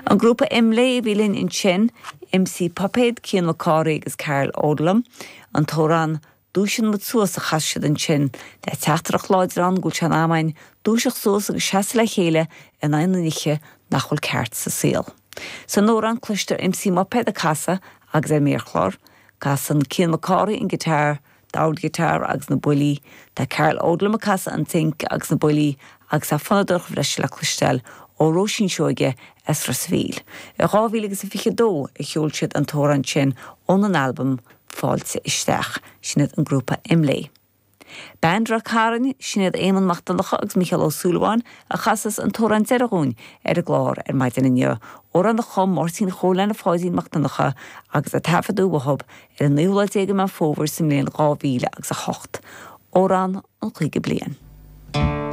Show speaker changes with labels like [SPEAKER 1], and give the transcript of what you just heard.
[SPEAKER 1] An grúpa Imlé a bhí linn ansin, MC Puipéad, Cian Mac Cárthaigh agus Karl Odlum, an t-amhrán Dúisíonn Muid Suas a chas siad ansin, le teachtaireacht láidir ann go bhfuil sé in am againn dúiseacht suas agus seasamh le chéile in aghaidh na nithe nach bhfuil ceart sa saol. San amhrán cloistear MC Muipéad ag casadh agus ar an méarchlár, casann Cian Mac Cárthaigh an guitar, dordghiotár agus na buillí, tá Karl Odlum ag casadh an tsinc agus na buillí agus tá fonnadóireacht bhreise le cloisteáil ó Róisín Seoige as Ros a' Mhíl. I 2022 a sheol siad an t-amhrán sin óna n-albam Fáilte Isteach. Sin iad an grúpa Imlé. Band Ráth Cairn, sin iad Éamonn Mac Donncha agus Mícheál Ó Súilleabháin a chasas an t-amhrán deiridh dhúinn ar an gclár ar maidin inniu, amhrán a chum Máirtín Chóil Anna Pháidín Mac Donncha agus a taifeadadh uathub ar an naoú lá déag de Meán Fómhair sa mbliain 2008. Amhrán an Chaoga Bliain.